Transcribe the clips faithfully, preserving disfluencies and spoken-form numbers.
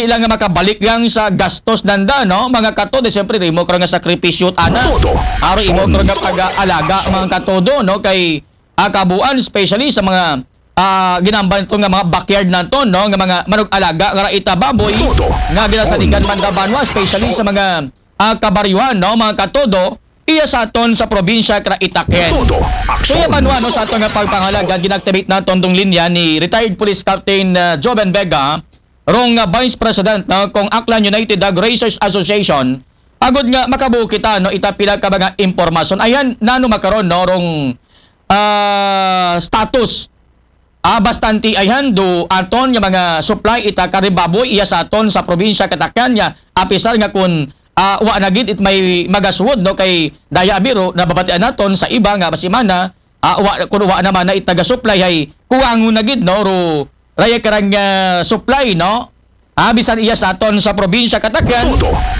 ila nga makabalik lang sa gastos nanda, no? Mga katodo, siyempre, imo karo nga sakripisyo, ana. Aro imo karo nga pag-aalaga, mga katodo, no? Kay, ah, kabuuan, especially sa mga, ah, ginamban ito nga mga backyard naton, no? Nga mga manug-alaga, nga ita baboy, nga ginasaligan man da banwa, especially sa mga, ah, kabaryuhan, no? Mga katodo, iya sa aton sa probinsya kara Itaken. Kaya banwa, no, sa aton nga pagpangalaga, ginactivate naton tong linya ni retired Police Captain, ah, Joven Vega, rong, ah, Vice President, no, kung Aklan United Hog Raisers Association, agud nga makabuo kita, no, ita pila ka mga impormasyon. Ayan, nano makaron, no, rong, ah, status. Ah, bastante ayan do aton nga mga supply ita kari baboy iya sa aton sa probinsya katakan nga apisar nga kun, ah, wa na gid it may magaswod, no, kay daya biro nababatian naton sa iba nga basimana, ah, wa, kun wa naman na it nagasupply ay kuwangon na gid, no, ro raya karang, ah, supply, no? Ah, bisan iya sa aton sa probinsya katakan.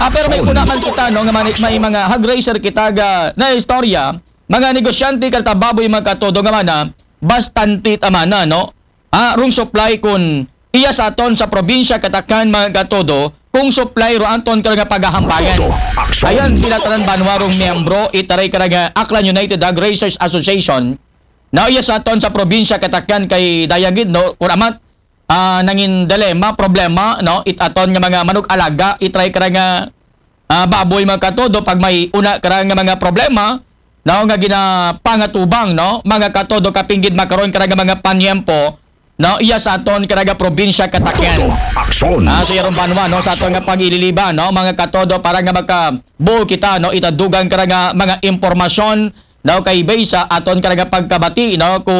Ah, pero may una man kita, no, nga mani-, may mga hog raiser kita ga na istorya, mga negosyante karta baboy, mga katodo, nga mana bastante tamana, no? Ah, rong supply kun iya sa aton sa probinsya katakan, mga katodo, kung supply ro aton karo nga pagahampangan. Ayan, pinatanan banwa rong miyembro itaray kara nga Aklan United Hog Raisers Association, na iya sa aton sa probinsya katakan kay daya gid, no, kun amat, ah, nangin dilema, problema, no, it aton nga mga manug-alaga, itaray kara nga, ah, baboy, mga katodo, pag may una kara nga mga problema, no, nga ginapangatubang, no, mga katodo, kapinggid makaron kara nga mga panyempo, no, iya sa aton kara nga probinsya kataken. Ah, so yaron banwa, no, sa aton nga pag-ililiba, no, mga katodo, para nga makabuo kita, no, itadugang kara nga mga impormasyon, no, kay base sa aton kara nga pagkabati, no, ku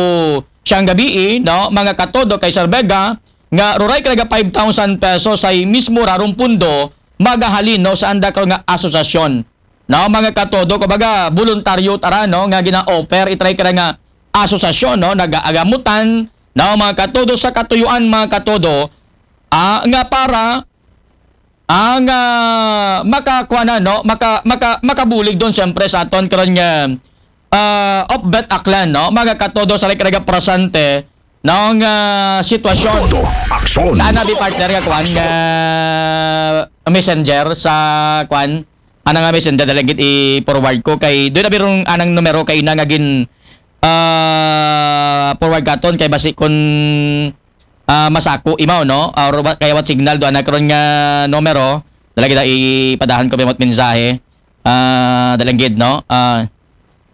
siyang gabii, no, mga katodo, kay Sir Vega, nga ruray kara nga five thousand pesos ay mismo rarong pundo magahalin, no, sa anda karo nga asosasyon. No, mga katodo, kumbaga, voluntaryo tara, no, nga gina-offer itaray kara nga asosasyon, no, nagaagamutan, no, mga katodo, sa katuyuan, mga katodo, ah, nga para, ah, nga makakuha na, no, maka, maka, makabulig don, siyempre, sa aton karon nga, ah, Opvet Aklan, no, mga katodo, sa kara nga presente, no, nga sitwasyon. Sa ana bi partner nga kuan nga messenger sa kuan, ana nga messenger, dali gid i-forward ko kay doon na birong anang numero kay ina nga gin, ah, forward katon kay basi kun, ah, masako imaw, no? Ah, or wa-, kaya what signal do ana karon nga numero, dali gid ipadahan ko bimot mensahe. Ah, dalangin, no? Ah,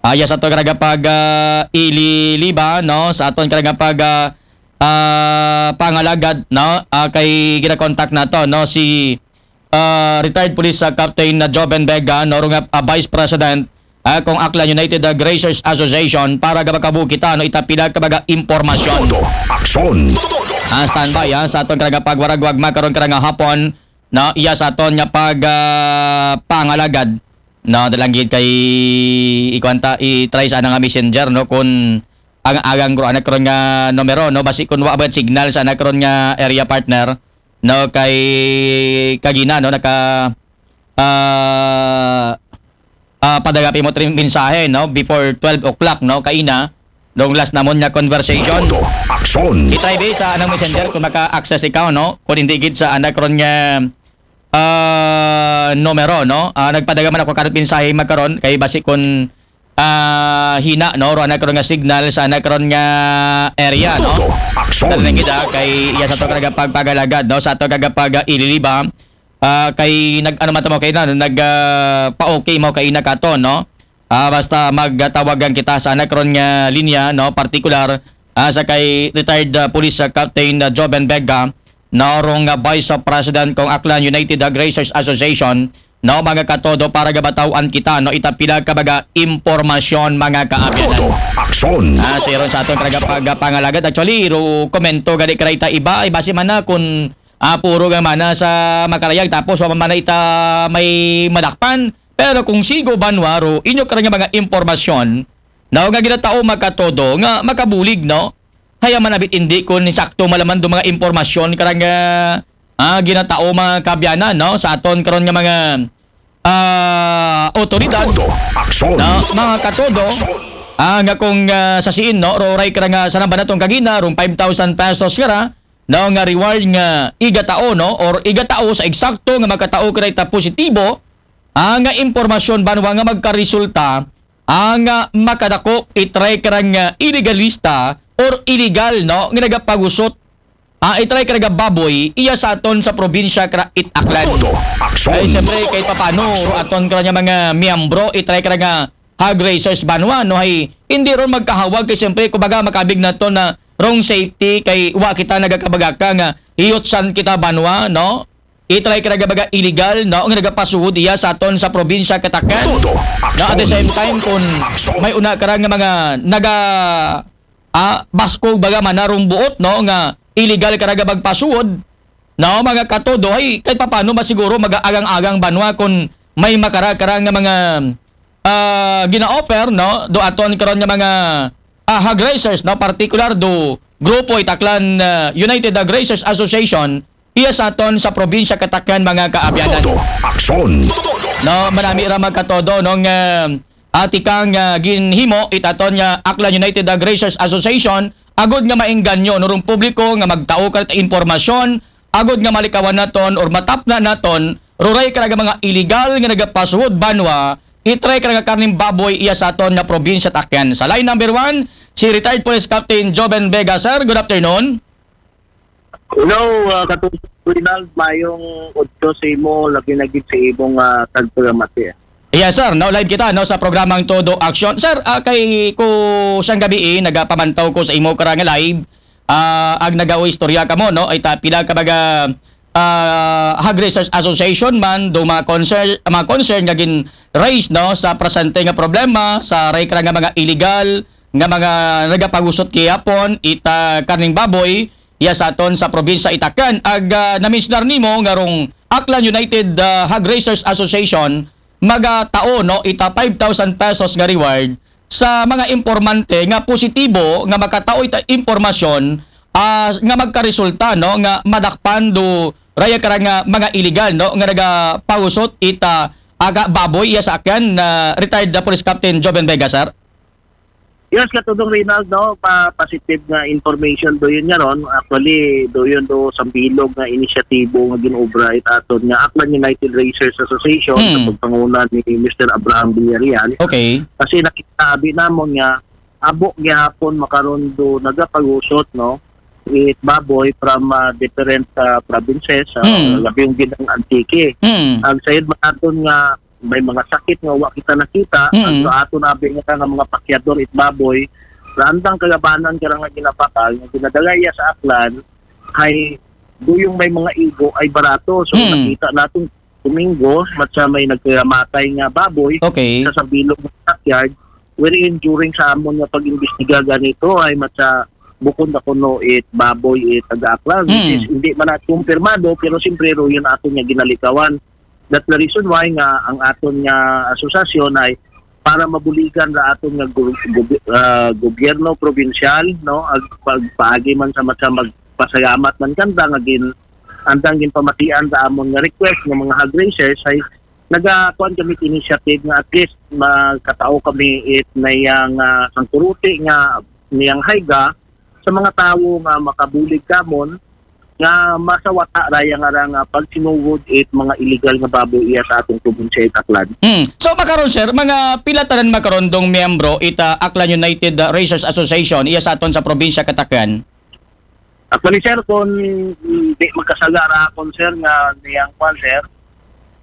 ah, ya sa aton karagapag, ah, ililiba, no? Sa aton karagapag, ah, ah, pangalagad, no? Ah, kay ginakontak nato, no? Si, ah, retired police, ah, Captain na Joven Vega, no? Rong, ah, Vice President, ah, kung Aklan United, ah, Grazers Association, para gabakabu kita, no? Itapila ka baga impormasyon. Todo aksyon. Ah, standby, ah, sa aton karagapag waragwag makaron karanga hapon, no, iya sa aton nga pag, ah, pangalagad, no, dalanggid kay ikwanta, i-try sa ana nga messenger, no, kun ang agang ro anak ron nga numero, no, basi kun wa ba signal sa anak ron nga area partner, no, kay kagina, no, naka, ah, ah, padagapi mo tri mensahe, no, before twelve o'clock, no, kaina, dong last namon nga conversation. Todo aksyon. I-try bi sa anang messenger kung maka-access ikaw, no, kung hindi gid sa anak ron nga, ah, numero, no. Ah, nagpadagaman ako karot mensahe magkaron kay basi kun, ah, hina, no, ro anak ron nga signal sa anak ron nga area, no. Todo aksyon. Dali na kita kay iya sa to karagapag pagalagad, no, sa to karagapag, ah, ililiba. Ah, kay nag-ano man tamo kay na, nag, ah, pa-okay mo kay na kato, no? Ah, basta magtawagan kita sa anak ron nga linya, no? Partikular, ah, sa kay retired, ah, police, ah, Captain, ah, Joven Vega, no? Rong, ah, Vice President kong Aklan United, ah, Grazers Association, no? Mga katodo para gabataw-an kita, no? Itapila ka baga impormasyon, mga kaabyanan. Todo aksyon. Ah, so yaron sa aton karagapag, ah, pangalagad. Actually, ro komento gani karayta iba, iba si mana kun ah, puro nga mana sa makarayag, tapos wa man mana ita may madakpan. Pero kung sigo banwa ro, inyo karang nga mga impormasyon, no, nga ginatao makatodo, nga makabulig, no? Haya man abit indi kun sakto malaman do mga impormasyon karang nga, ah, ginatao mga kabyanan, no? Sa aton karon nga mga, ah, otoridad, todo aksyon, no? Mga katodo, ah, nga kung, ah, sa siin, no? Roray karang nga sa namba natong kagina, rong five thousand pesos kara, no, nga reward nga igatao, no, or igatao sa eksakto nga makatao ka ita positibo, ah, nga impormasyon banwa nga magkaresulta, ah, nga makadako itry ka nga illegalista or illegal, no, nga nagapagusot, ah, itry ka nga baboy iya sa aton sa probinsya ka it Aklan. Todo aksyon. Ay, siyempre, kay papano aton ka nga mga miyembro, itry ka nga hog raisers banwa, no, ay hindi ron magkahawag kay siyempre, kumbaga, makabig na to na wrong safety kay wa kita nagakabagaka nga hiyot san kita banwa, no? Itry ka nga baga illegal, no, nga nagapasuhod iya sa aton sa probinsya ka Aklan. Todo. No, at the same time, kung may una ka nga mga naga, ah, baskog baga manarong buot, no, nga illegal ka nga magpasuhod, no, mga katodo, ay kahit papano masiguro mag-aagang-agang banwa kung may makara-kara nga mga, ah, gina-offer, no, do aton karon nga mga, ah, hog raisers, no, particular do grupo it Aklan, ah, United Hog Raisers Association, iya sa aton sa probinsya ka Aklan, mga kaabyanan. Todo aksyon. No, manami ra magkatodo, no, nga, ah, tikang, ah, ginhimo it aton nga Aklan United Hog Raisers Association, agod nga maengganyo, no, rong publiko nga magtao ka it impormasyon, agod nga malikawan naton or matapna naton, ruray ka nga mga illegal nga nagapasuhod banwa, itry ka nga karning baboy iya sa aton nga probinsya it Aklan. Sa line number one, si retired Police Captain Joven Vega. Sir, good afternoon. Hello, ah, Katong Rinald, mayong udto sa imo, labi na gid sa imong, ah, tagpagamati. Yes, sir. No, live kita, no, sa programang Todo Aksyon. Sir, ah, kay ko sang gabi, eh, nagapamantaw ko sa imo karang live. Ah, ag nagaoy istorya kamo, no? Ay ta, pila ka baga, ah, Hog Raisers Association man, do mga concern, mga concern nga gin-raise, no, sa presente nga problema, sa ray ka nga mga illegal nga mga nagapagusot gihapon ita karning baboy, iya sa aton sa probinsya it Aklan. Ag, ah, naminsyonar nimo nga rong Aklan United, ah, Hog Raisers Association, magatao, no, ita five thousand pesos nga reward sa mga impormante nga positibo nga makatao ita impormasyon, ah, nga magkaresulta, no, nga madakpan do raya ka nga mga illegal, no, nga nagapagusot ita aga baboy iya sa Aklan, na retired na Police Captain Joven Vega, sir. Yes, Katudong Reynald, no, pa positive nga information do yun nga ron. Actually, do yun do sa bilog nga inisyatibo nga ginobra it aton nga Aklan United Raisers Association, hmm, sa pagpanguna ni Mister Abraham Villarreal. Okay. Kasi nakita abi namon nga abo gihapon makaron do nagapagusot, no, it baboy from, ah, different, ah, provinces, ah, hmm, labi yung ginang Antique. Hmm. Ang sayod man aton nga may mga sakit nga wa kita nakita, mm, ang sa ato na abi nga, nga mga pakyador it baboy, sa andang kagabanan ka nga ginapakal, nga ginadagaya sa Aklan, ay duyong may mga igo ay barato. So, mm, nakita natin Domingo, matsa may nagkamatay nga baboy, okay, sa sabilog nga backyard, wherein during sa amon nga pag-imbestiga ganito ay matsa bukon na kuno it baboy it taga Aklan, which, mm, is hindi man na kumpirmado, pero siyempre ro yun ato nga ginalikawan. That's the reason why nga ang aton nga asosasyon ay para mabuligan ra aton nga gu-, gu-, ah, gobyerno probinsyal, no, ag pagpaagi man sa matsa magpasalamat man kanta nga gin-, andang ginpamatian sa amon nga request nga mga hog raisers ay nagakuan kami initiative nga at least magkatao kami it niyang, ah, sangkuruti nga niyang hayga sa mga tawo nga makabulig kamon nga masawata raya nga ra nga pagsinugod it mga illegal nga baboy iya sa atong probinsya it Aklan. Mm. So, makaron, sir, mga pila tanan makaron dong miyembro ita Aklan United, uh, Raisers Association iya sa aton sa probinsya ka Aklan? Actually, sir, kung di magkasaga ra akon, sir, nga niyang kwan, sir,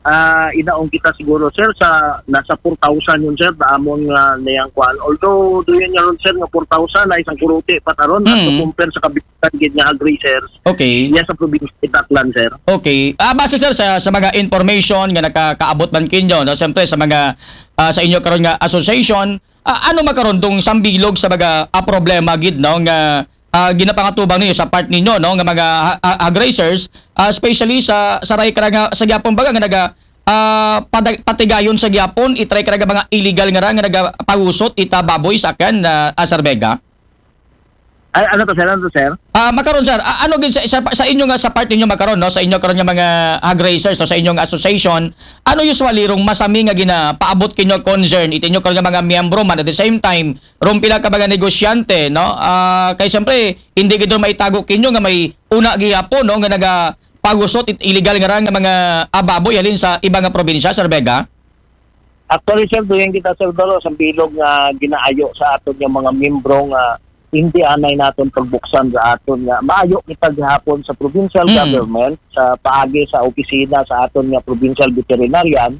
ah, inaon kita siguro, sir, sa nasa four thousand yun, sir, na amon nga niyang kwan. Although, do yun nga ron, sir, nga four thousand ay isang kuruti pa taron at, mm, compare sa kabitan gid nga hog raisers. Okay. Iya sa probinsya it Aklan, sir. Okay. Ah, base, sir, sa, sa mga information nga nakakaabot man kinyo, no, siyempre sa mga, ah, sa inyo karon nga association, ah, ano makaron dong sambilog sa mga, ah, problema gid, no, nga, ah, ginapangatubang ninyo sa part ninyo, no, nga mga ha-, ha-, hog raisers, ah, especially sa, sa ray ka nga sa gyapon baga nga naga, ah, pada-, patigayon sa gyapon, itry ka nga mga illegal nga ra nga nagapagusot ita baboy sa Aklan, ah, ah, Sir Vega? Ay, ano to, sir? Ano to, sir? Ah, makaron, sir, a-, ano gid sa, sa, sa inyo nga, sa part ninyo makaron, no, sa inyo karon nga mga hog raisers, no, sa inyong association, ano usually rong masami nga ginapaabot kinyo concern it inyo karon nga mga miyembro man, at the same time rong pila ka mga negosyante, no? Ah, kay siyempre hindi gid ron maitago kinyo nga may una gihapon, no, nga nagapagusot it illegal nga ra nga mga, ah, baboy halin sa iba nga probinsya, Sir Vega? Actually, sir, duyan kita, sir, dalo sa bilog nga ginaayo sa aton nga mga miyembro nga hindi anay naton pagbuksan sa aton nga maayo kita gihapon sa provincial Mm. government, sa paagi sa opisina sa aton nga provincial veterinarian,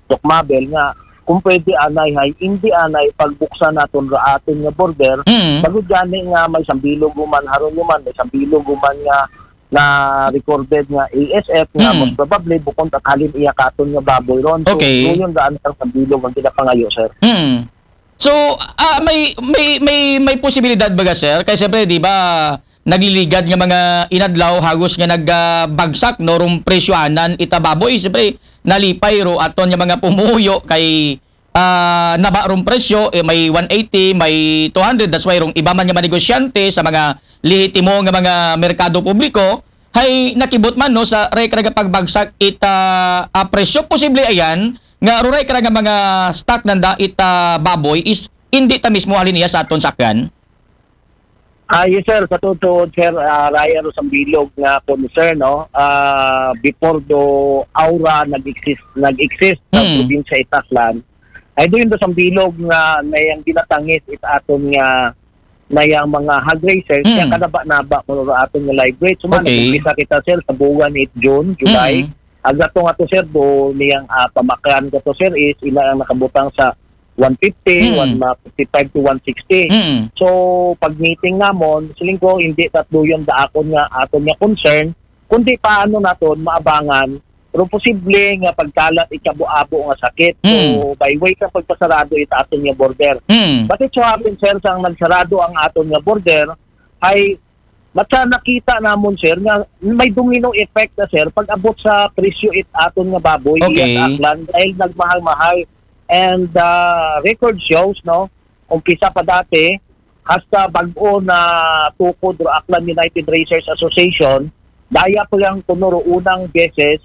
Doc Mabel, nga kung pwede anay hay hindi anay pagbuksan naton ra aton nga border, Mm. bagod gani nga may sambilog human, haron human may sambilog human nga na recorded nga A S F nga Mm. most probably bukon ta halin iya katon nga baboy ron. So, Okay. Duyon ra ang sambilog ang ginapangayo, sir. Mm. So, ah, may, may, may, may posibilidad ba ga, sir? Kay siyempre, di ba, nagliligad nga mga inadlaw, hagos nga nagbagsak, no, rong presyohanan ita baboy. Siyempre, nalipay ro aton nga mga pumuyo kay, ah, naba rong presyo, eh, may one eighty, may two hundred. That's why rong iba man nga mga negosyante sa mga lehitimo nga mga merkado publiko, hay nakibot man, no, sa ray karaga pagbagsak ita, ah, presyo. Posible ayan, nga ruray karaga mga stock nanda ita baboy is hindi ta mismo halin iya sa aton sakyan? Ah, yes, sir. Sa totoo, sir, ah, raya ro sa bilog nga concern, no? Ah, before do aura nag-exist, nag-exist sa Mm. probinsya Itaklan, ay doon do sa bilog nga na yung ginatangis it aton nga na yung mga hog raisers, Mm. kaya kanaba-naba ko ro aton nga live weight. So, man, Okay. Nag-umpisa kita, sir, sa buwan it June, July. Mm. Ang gato nga to, sir, do niyang, ah, pamaklan gato, sir, is ila ang nakabutang sa one fifty, Mm. one, ah, fifty-five to one sixty. Mm. So, pag meeting namon, siling ko, hindi tatlo yun daakon nga aton nga concern, kundi paano naton maabangan pero posible nga pagkalat ikabo-abo nga sakit. So, Mm. By way sa pagpasarado ita aton nga border. Mm. But it so happens, sir, sang nagsarado ang aton nga border, ay matsa nakita namon, sir, nga may domino effect na, sir, pag abot sa presyo it aton nga baboy Okay. Iya sa Aklan dahil nagmahal-mahal. And, ah, record shows, no, umpisa pa dati, hasta bag-o na tukod ro Aklan United Raisers Association, daya pa lang kuno ro unang beses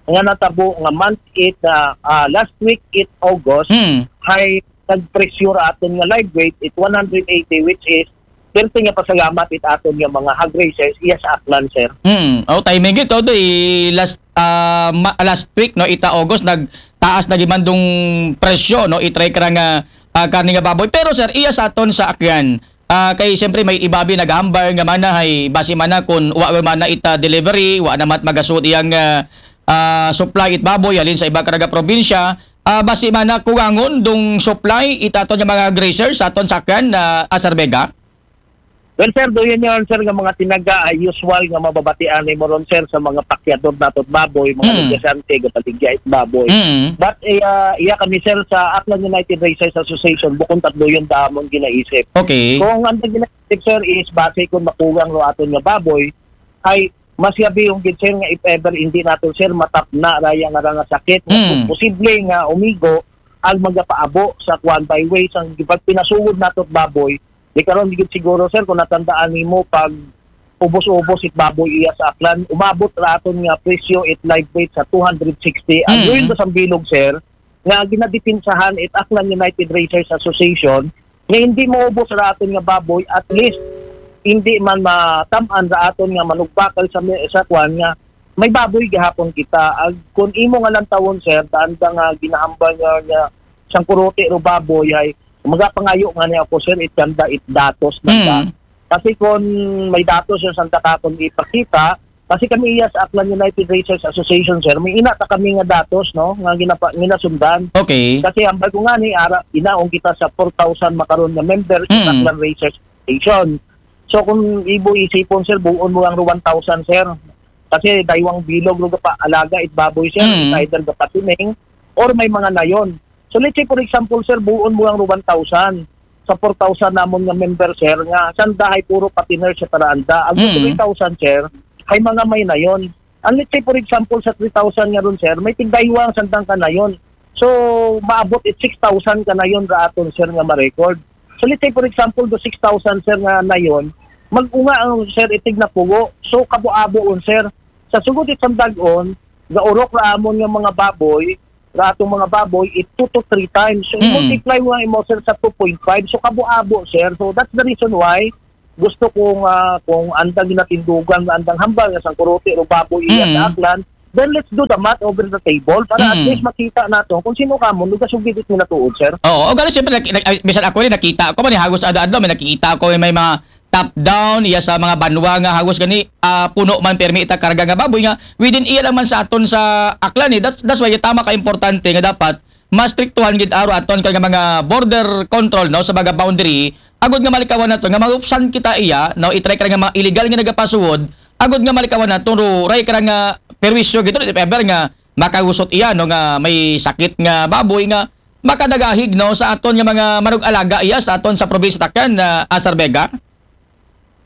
nga natabo nga month it, ah, ah, last week it August, Mm. Hay nagpresyo ra aton nga live weight it one hundred eighty, which is perti nga pasalamat it aton nga mga hog raisers iya sa Aklan, sir. Mm. Oh, timing ito, do, i-, last, ah, ma-, last week, no, ita August, nagtaas na gimandong presyo, no, itry ka nga, ah, karne nga baboy. Pero, sir, iya sa aton sa Aklan, ah, kay siyempre may ibabi naghambar nga mana hay basi mana kun wa mana ita delivery, wa na mat magasud iyang, ah, ah, supply it baboy halin sa iba karaga probinsya. Ah, basi mana kuwangon dong supply ita aton nga mga grazers sa aton sa Aklan, ah, Sir Vega? Well, sir, do yun yun, sir, nga mga tinaga ay usual nga mababatian ni mo ron, sir, sa mga pakyador nato baboy, mga Mm. negosyante, gabaligya it baboy. Mm. But, eh, ah, iya kami, sir, sa Aklan United Raisers Association, bukon tatlo yun damon ginaisip. Okay. Kung ang ginaisip, sir, is base kung makulang ro aton nga baboy, ay mas yabi yung gid, sir, nga if ever hindi nato, sir, matapna raya nga ra nga sakit, nga Mm. posible nga umigo ang magapaabo sa kwan by way sang pagpinasugod nato baboy. Di karon gid siguro, sir, kung natandaan nimo, pag ubos-ubos it baboy iya sa Aklan, umabot ra aton nga presyo it live weight sa two hundred sixty. Ang Mm. Royal Basambilog, sir, nga ginadipinsahan it Aklan United Raisers Association, nga hindi maubos ra aton nga baboy, at least hindi man matam-an ra aton nga manugbakal sa mi-, sa kwan nga may baboy gihapon kita. Ag, kung imo nga lantawon, sir, daan da nga ginahambal nga, nga siyang kuruti ro baboy ay magapangayo nga niya ako, sir, it kanda it datos na Mm. Kasi kung may datos yung sanda ka kung ipakita, kasi kami iya sa Aklan United Raisers Association, sir, may ina ta kami nga datos, no, nga ginapa-, ginasundan. Okay. Kasi ang bago nga ni ara, inaon kita sa four thousand makaron nga member sa Mm. Aklan Raisers Association. So kung ibo isipon, sir, buon mo ang one thousand, sir. Kasi daywang bilog ro pa alaga it baboy, sir, Mm. It's either gapatining or may mga nayon. So let's say, for example, sir, buon mo ang one thousand. Sa four thousand namon nga member, sir, nga sanda hay puro patiner sa taraanda. Ang Mm. three thousand, sir, hay mga may nayon. Ang let's say, for example, sa three thousand nga ron, sir, may tigdaywa ang sandang kanayon. So, maabot it six thousand kanayon ra aton, sir, nga ma-record. So, let's say, for example, do six thousand, sir, nga nayon, mag-unga ang, sir, itig na pugo. So, kabo-abo on, sir. Sa sugod it sang dag-on, gaurok ra amon nga mga baboy, ra atong mga baboy, it two to three times. So, Mm. i-multiply mo ang imo, sir, sa two point five. So, kabo-abo, sir. So, that's the reason why gusto ko nga kung andang ginatindugan, nga andang hambal nga sang kuruti ro baboy iya Mm. sa Aklan, then let's do the math over the table para at Mm. least makita nato kung sino kamo nagasugid it nga tuod, sir. Oo, o gani siyempre, nak- nak- ay, bisan ako rin, nakita ko man, eh, hagos adlaw-adlaw, may nakikita ko, may mga top down, iya sa mga banwa nga hagos gani, ah, puno man permi ita karga nga baboy nga, within iya lang man sa aton sa Aklan, eh. That's, that's why, tama ka importante nga dapat, mastriktuhan gid aro aton kay nga mga border control, no, sa mga boundary, agod nga malikawan nato nga mahupsan kita iya, no, i-try ka nga mga illegal nga nagapasuod, agod nga malikawan nato, ro, ray ka nga perwisyo gito, if ever nga makagusot iya, no, nga may sakit nga baboy nga makadagahig, no, sa aton nga mga manug-alaga iya sa aton sa probinsya ta Aklan, ah, Sir Vega.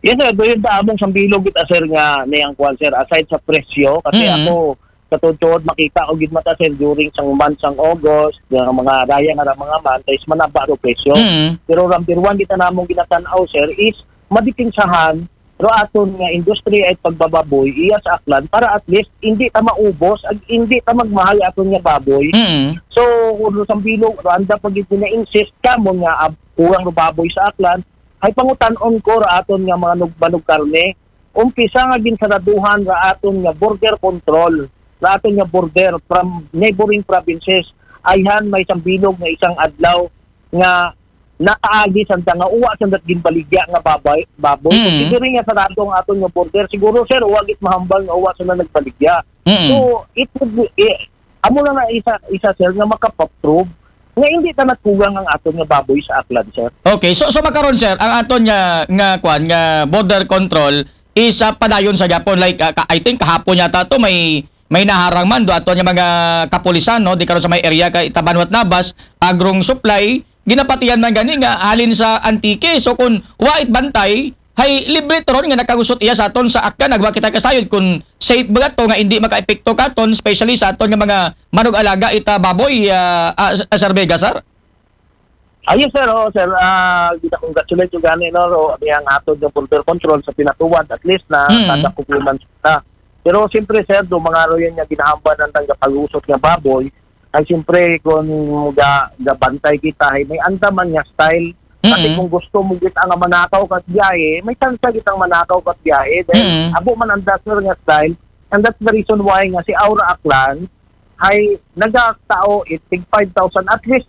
Yes, sir. Doon ta among sambilog gid, ah, sir, nga niyang kwan, sir, aside sa presyo, kasi Mm. ako, sa tuod-tuod, makita ko gid mata, sir, during sang month sang August, nga mga raya nga ra mga month, is manaba ro presyo. Mm. Pero number one, kita namong ginatan-aw, sir, is madipinsahan ro aton nga industry ay pagbababoy iya sa Aklan para at least hindi ta maubos ag hindi ta magmahal aton nga baboy. Mm. So, kung sambilog, ro anda pa gid na-insist kamo nga ab- kulang ro baboy sa Aklan, ay pangutan-on ko ra aton nga mga nug-, manugkarne. Umpisa nga ginsaraduhan ra aton nga border control, ra aton nga border from neighboring provinces. Ayhan may sambilog nga isang adlaw nga nakaagi sanda nga uwa sanda ginbaligya nga babay, baboy. Mm. Considering nga sarado ang aton nga border, siguro, sir, uwa gid mahambal nga uwa sanda nagbaligya. Mm. So, it would be, eh, amo na nga isa, isa, sir, nga makapaprove nga hindi ta nagkulang ang aton nga baboy sa Aklan, sir. Okay, so, so makaron, sir, ang aton nga, nga kwan, nga border control is, ah, padayon sa gihapon, like, ah, ka- I think kahapon yata to may, may naharang man do aton nga mga kapulisan, no, di karon sa may area kay Tabanwat Nabas, Agrong Supply, ginapatihan man gani nga halin sa Antique. So kung wa it bantay, hay libre to ron nga nakagusot iya sa aton sa Aklan, ag wa kita kasayod kung safe ba to nga hindi makaepekto katon, especially sa aton nga mga manug-alaga ita baboy, ah, ah, Sir Vega, sir? Ayun, sir, oh, sir, ah, gina-congratulate ko gani, no, ro, niyang aton nga border control sa pinatuwad, at least na Mm. kada kukuman sila. Pero siyempre, sir, do mga ro yan nga ginahamban ng tangga pag-usot nga baboy, ay siyempre, kung ga, gabantay kita, ay may andaman nga style. Kasi Mm. kung gusto mo kita nga manakaw kat biyahe, may chance kita manakaw kat biyahe. Dahil Mm. abo man ang dasher nga style, and that's the reason why nga si Aura Aklan, hay nagtao it tig five thousand, at least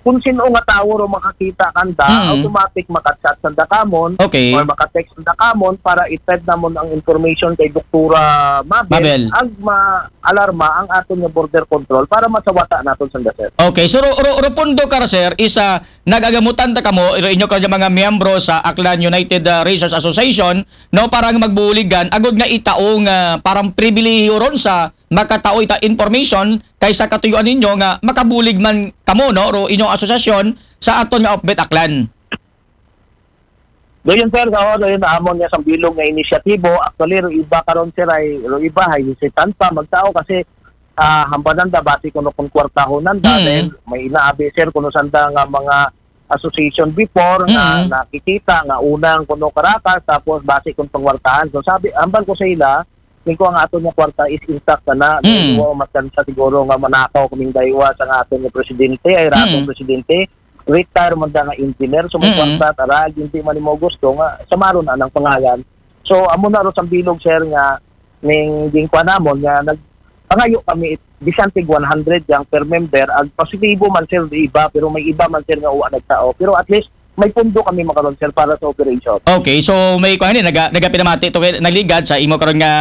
kung sino nga tawo ro makakita kanda, Mm. automatic makachat sanda kamon, Okay. or makatext sanda kamon para i-send namon ang information kay Doktora Mabel, Mabel. Ag ma-alarma ang aton nga border control para masawata naton sanda, sir. Okay, so ro, ro, ro pundo ka, sir, is, ah, nagagamutan ta kamo, ro inyo ka mga miyembro sa Aklan United, ah, Racers Association, no, para nga magbuligan, agod nga itaong, ah, parang pribilehiyo ron sa makatao ita information kaysa katuyuan ninyo nga makabulig man kamo, no, ro inyong asosasyon sa aton nga Upbeat Aklan. Doon, sir, sa oras yun, amon nga sambilog nga inisyatibo. Actually, ro iba karon, sir, ay ro iba ay hesitant pa magtao kasi, ah, hambanan da basi kuno kun kwartahon nanda, Mm. then may inaabi, sir, kuno sanda nga mga association before nga Mm. nakikita nga unang kuno Caracas, tapos basi kun pangwartahan. So sabi, hambal ko sa ila, ning ko ang aton nga kwarta is intact na na. Mm. Wa matansa siguro nga manakaw kaming daywa sa nga aton nga presidente, ay ratong Mm. presidente, retire man da nga engineer, so may Mm. kwarta tara, hindi man mo gusto nga samaron na ng pangalan. So amo na ro sambilog, sir, nga ning gingkwa namon nga nag pangayo kami bisan tig one hundred yang per member, ag positibo man, sir, di iba, pero may iba man, sir, nga uwa nagtao. Pero at least may pundo kami makaron, sir, para sa operation. Okay, so may kuan ni naga nagapinamati to kay nagligad sa imo karon nga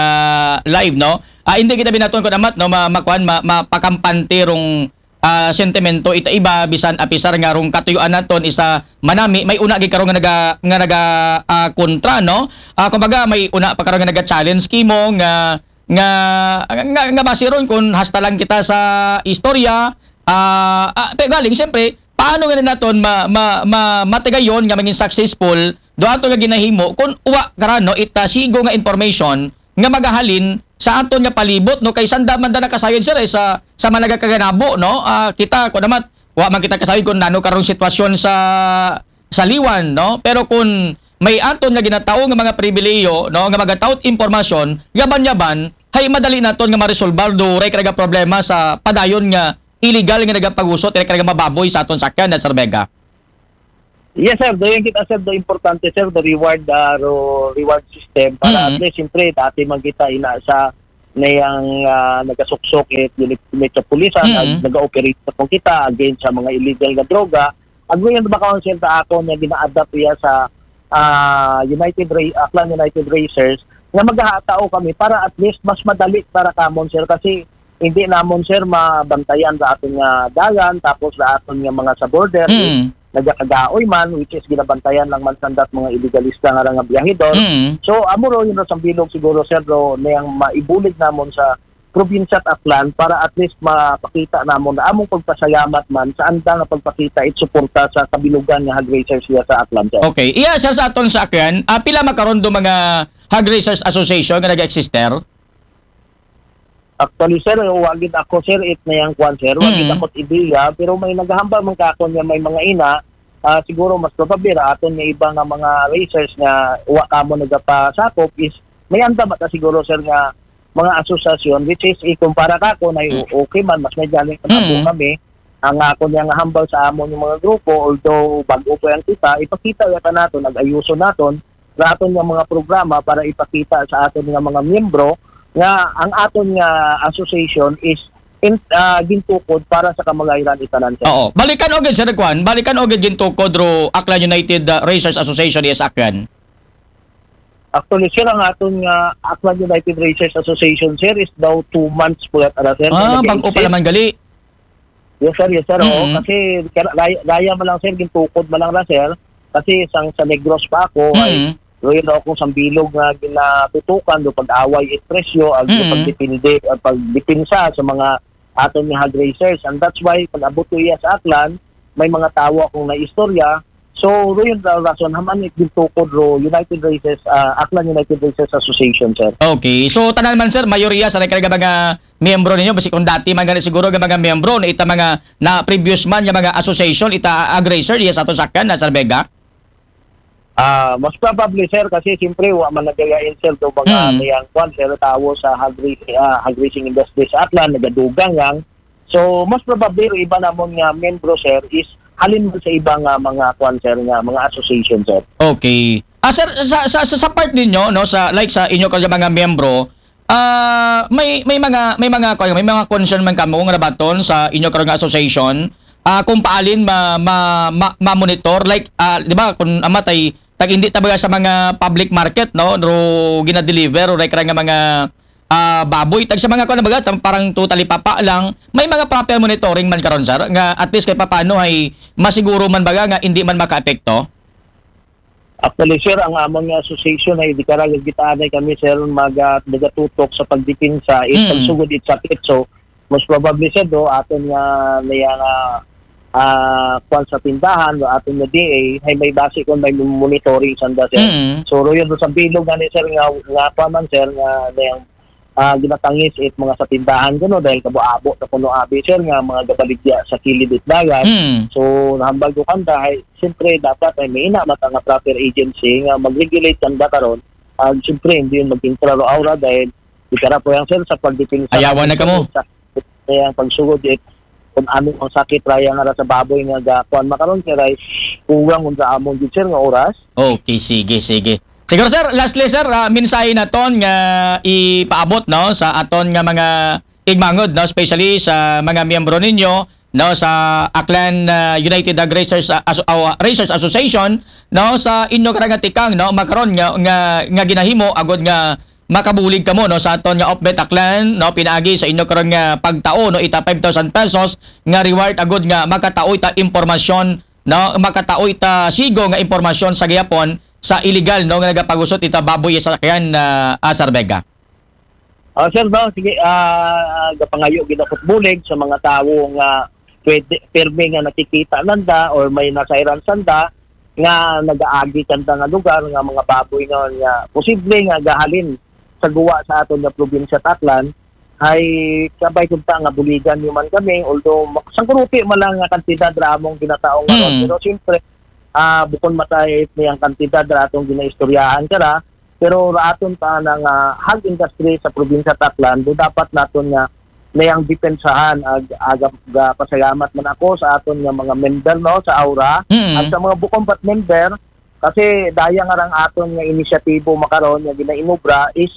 live, no? Ah, hindi kita binaton kun amat, no, ma, makuan, ma, mapakampante rong, ah, sentimento ita iba bisan apisar nga rong katuyuan naton isa manami, may una gid karon nga naga nga naga, ah, kontra, no? Ah, kumbaga may una pa karon nga naga-challenge kimo nga nga nga, nga basi ron kun hasta lang kita sa istorya, ah, ah, pero galing siyempre paano nga naton ma, ma, ma, matigayon nga maging successful do ato nga ginahimo kun uwa karan, no, ita sigo nga information nga magahalin sa aton nga palibot, no, kay sanda man da nakasayod, sir, eh, sa sa managakaganabo, no? Ah, kita ko naman wa man kita kasayod kun nano karong sitwasyon sa sa Liwan, no? Pero kun may aton nga ginatao nga mga pribilehiyo, no, nga magataw it impormasyon, yaban-yaban, hay madali naton nga maresolbar do, ray karaga problema sa padayon nga illegal nga nagapagusot, ray karaga mga baboy sa aton sakyan, na Sir Vega. Yes, sir. Do yung kita, sir, do importante, sir, do reward, ah, ro, reward system para Mm. at least, siyempre, dati man kita ina sa niyang ah, nagasuksok it unit sa pulisan, Mm. ag nag-ooperate na po kita against sa mga illegal nga droga. Ag ngayon ba, Council, ta ako nga gina-adapt iya sa ah, United Ra- Aklan United Racers nga maghahatao kami para at least mas madali para kamon, sir, kasi hindi namon, sir, mabantayan sa aton nga dalan, tapos sa aton nga mga sa border, Mm. nagakagaoy man, which is ginabantayan lang man sandat mga illegalista nga nga biyahedor. Mm. So, amo ro yun ro sa bilog siguro, sir, ro, niyang maibulig namon sa probinsya at Aklan para at least mapakita namon na among pagpasalamat man sa anda nga pagpakita it suporta sa kabilugan nga hog raisers siya sa Aklan, sir. Okay. Iya, sir, sa aton sa akin, ah, pila makaron do mga Hog Raisers Association nga nag-exist, sir? Actually, sir, wa gid ako, sir, it na yang kwan, sir. Wa gid Mm. ako ideya, pero may naghahambal man ka ako niya may mga ina, ah, siguro mas probable ra aton nga iba nga mga racers nga wa kamo nagapasakop is may anda mata siguro, sir, nga mga asosasyon, which is ikumpara ka ako na Mm. okay man, mas may galing na Mm. kami. Ang ako niya nga hambal sa amon yung mga grupo, although bago pa yan kita, ipakita yata naton, nag-ayuso naton, sa aton nga mga programa para ipakita sa aton nga mga miyembro nga ang aton nga association is in, ah, gintukod para sa kamagayran itanan, sir. Oo. Balikan o gid, Sir Kwan. Balikan o gid gintukod ro Aklan United, ah, Racers Association, yes, Aklan. Actually, sir, ang aton nga Aklan United Racers Association, sir, is daw two months po yata, sir, na Ah, nag-exist. Bago pa naman gali. Yes, sir. Yes, sir. Oo. Mm. Kasi kaya- gaya, gaya man lang, sir, gintukod man lang ra, sir. Kasi sang sa Negros pa ako, ay Mm. doon ako sa bilog nga ginatutukan do pag-away it presyo, ag Mm. pagdepende, ag pagdepensa sa mga aton nga hog raisers. And that's why pag-abot ko iya sa Aklan, may mga tawo akong naistorya. So, ro yun ra rason, haman it gintukod ro United Races, ah, Aklan United Races Association, sir. Okay. So, tanan man, sir, mayoriya sa karaga mga miyembro ninyo, basi kung dati man gani siguro nga mga miyembro na ita mga na previous man nga mga association, ita hog raiser, yes, ato sakyan, na Sir Vega? Ah, most probably, sir, kasi siyempre, wa man nagayain, sir, do mga Mm. niyang kwan, sir, tawo sa hog raising, ah, hog raising industry sa Aklan, nagadugang lang. So, most probably, iba namon nga membro, sir, is halin man sa iba nga mga kwan, sir, nga mga association, sir. Okay. Ah, sir, sa, sa, sa, sa part ninyo, no, sa, like, sa inyo karaga mga miyembro, ah, may, may mga, may mga, may mga concern man kamo nga nabaton sa inyo karaga nga association, ah, kung paalin ma, ma, ma, ma-monitor, like, ah, di ba, kung amatay, tag hindi ta baga sa mga public market, no, ro ginadeliver, o like, nga mga ah, baboy, tag sa mga kuan, baga, tam-, parang totally papa lang, may mga proper monitoring man karon, sir, nga at least kay papano ay masiguro man baga nga hindi man makaapekto? Actually, sir, ang amon nga association ay di karaga gitaan ay kami, sir, maga-, nagatutok sa pagdepensa, it Mm. pagsugod it sakit. So, most probably, sir, do, aton nga, niya nga, ah, kwan sa tindahan, do, aton nga D A, ay may base kung may monitoring sanda, sir. Mm. So, ro yun, sa bilog nga ni, sir, nga, nga kwan man, sir, nga, niyang, ah, ginatangis it mga sa tindahan, kuno, dahil kabo-abo na kuno abi, sir, nga mga gabaligya sa kilid it dagat. Mm. So, nahambal ko kanda, ay, siyempre, dapat ay may ina, mata nga proper agency nga mag-regulate kanda karon. Ah, siyempre, hindi yun maging klaro aura dahil di kara po yan, sir, sa pagdepensa. Ayawan na kamo. Sa, kaya ang pagsugod, it, kung ano ang sakit raya nga ra sa baboy nga gakuan makaron, sir, ay kuwang unsa amon gid, sir, nga oras. Okay, sige, sige. Siguro, sir, lastly, sir, ah, mensahe naton nga ipaabot, no, sa aton nga mga igmangod, no, especially sa mga miyembro ninyo, no, sa Aklan, ah, United Hog Raisers, ah, Aso-, ah, Raisers Association, no, sa inyo karang tikang, no, makaron nga, nga, nga ginahimo agud nga makabulig kamo, no, sa aton nga Opbet Aklan, no, pinaagi sa inyo karon nga pagtao, no, ita five thousand pesos nga reward agud nga makatao ita impormasyon, no, makatao ita sigo nga impormasyon sa gihapon sa illegal, no, nga nagapagusot ita baboy sa sakyan, ah, Sir Vega. Ah, sir, no, sige, ah, gapangayo gid ako bulig sa mga tawo nga pwede, pirmi nga nakikita nanda or may nasayran sanda nga nagaagi kanda nga lugar nga mga baboy nga, nga posible nga gahalin sa guwa sa aton nga probinsya Aklan, ay kabay kunta nga buligan nyo man kami, although ma-, sangkuruti man lang nga kantidad ra among ginataong ngaron, Mm. pero siyempre, ah, bukon matay it niyang kantidad ra aton ginaistoryahan kara, pero ra aton ta nga hog industry sa probinsya ta Aklan, do dapat naton nga niyang depensahan. Ag, aga, ga pasalamat man ako sa aton nga mga member, no, sa Aura, Mm. at sa mga bukon pat member, kasi daya nga rang aton nga inisyatibo makaron nga ginainubra is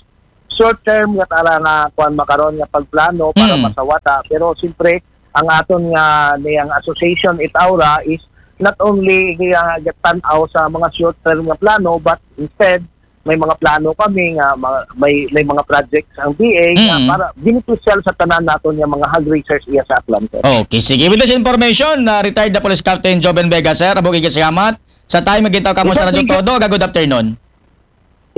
short term nga tara nga kuan makaron nga pagplano para Mm. masawata, pero siyempre ang aton nga niyang association it Aura is not only nga gatan-aw sa mga short term nga plano, but instead may mga plano kami nga ma- may may mga projects ang B A nga Mm. para beneficial sa tanan naton nga mga hog raisers iya sa Aklan, sir. Okay, sige. With this information, na retired na Police Captain Joven Vega, sir, abo kay salamat sa time nga gitaw kamo Yes, sa sir, Radyo thank you. Todo. Aga, good afternoon.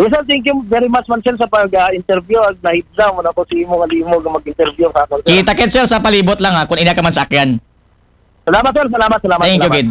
Yes, sir, thank you very much man, sir, sa pag-interview. Ag nahidlaw man ako sa imo nga limo nga mag-interview sa akon, sir. Kita kit, sir, sa palibot lang, ha, kung ina ka man sa akyan. Salamat, sir. Salamat, salamat. Thank you, salamat. Gid.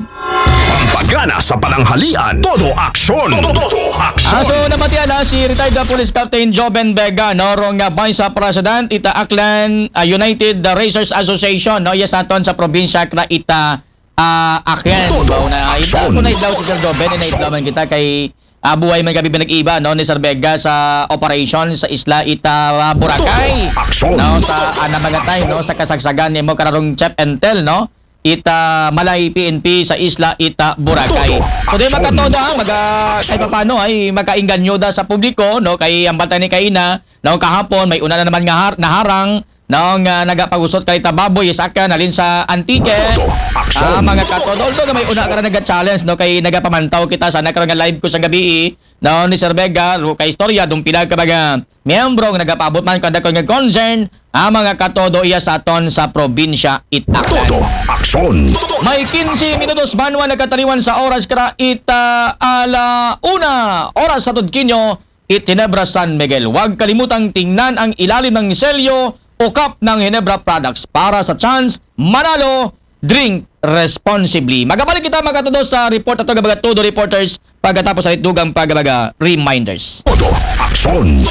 Pampagana sa pananghalian, todo aksyon. Todo, todo aksyon. Ah, so, nabatian na si retired na Police Captain Joven Vega, no, rong, ah, Vice President ita Aklan, ah, United Racers Association, no, iya sa aton sa probinsya kra ita, ah, Aklan. Todo Mao na ita, aksyon. Kung naidlaw si Sir Joven, naidlaw man kita kay, ah, buhay man gabi pinag-iba, no, ni Sir Vega sa operation sa isla ita, ah, Boracay. Todo aksyon. No, sa, ah, namagatan, no, sa kasagsagan nimo kararong Chip Entel, no, ita Malay P N P sa isla ita Boracay. Todo So, di aksyon. makatoda, maga, kay papano ay makainganyo da sa publiko, no, kay ang bata ni kaina, no, kahapon may una na naman nga har, naharang, no, nga nagapagusot kay ta baboy sa akyan halin sa Antique. Todo aksyon. Ah, mga katoda, although nga may una ka na naga-challenge, no, kay nagapamantaw kita sa nagkaroon nga live ko sa gabi, no, ni Sir Vega, ro kay istorya, dong pila ka mga miyembro nga nagapaabot man kada ko nga concern, ah, mga katodo iya sa aton sa probinsya it Aklan. Todo aksyon. May quince minutos banwa nagkataliwan sa oras kara ita ala una oras sa Tudkinyo, it Ginebra San Miguel. Huwag kalimutang tingnan ang ilalim ng selyo o cup ng Ginebra products para sa chance manalo. Drink responsibly. Magabalik kita, mga katodo, sa report ato, mga Todo Reporters, pagkatapos sa dugang pagbaga reminders. Todo aksyon.